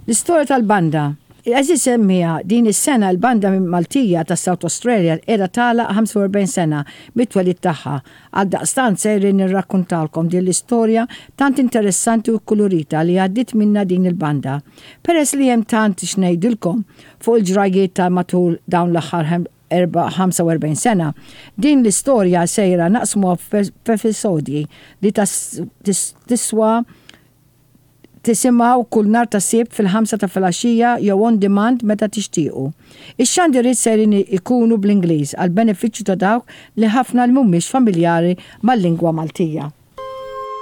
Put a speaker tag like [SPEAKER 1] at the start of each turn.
[SPEAKER 1] L-istorja tal-banda. Għeżież semmiegħa, din is-sena l-Banda Maltija ta' South Australia qiegħda tagħlaq 45 sena mit-twelid tagħha. Għaldaqstant sejrin nirrakkuntalkom din l-istorja tant interessanti u kkulurita li għaddiet minnha din il-banda. Peress li hemm tant x'ngħidilkom fuq il-ġrajjiet ta' matul dawn l-aħħar 45 sena, din l-istorja sejra naqsmuha f'episodji li tiswa Tisimgħu kull nhar ta' Sibt fil-ħamsa ta' filgħaxija jew on demand meta tixtiequ. Ix-xandiriet sejrin ikunu bl-Ingliż għall-benefiċċju ta' dawk li ħafna li mhumiex familjari mal-lingwa Maltija.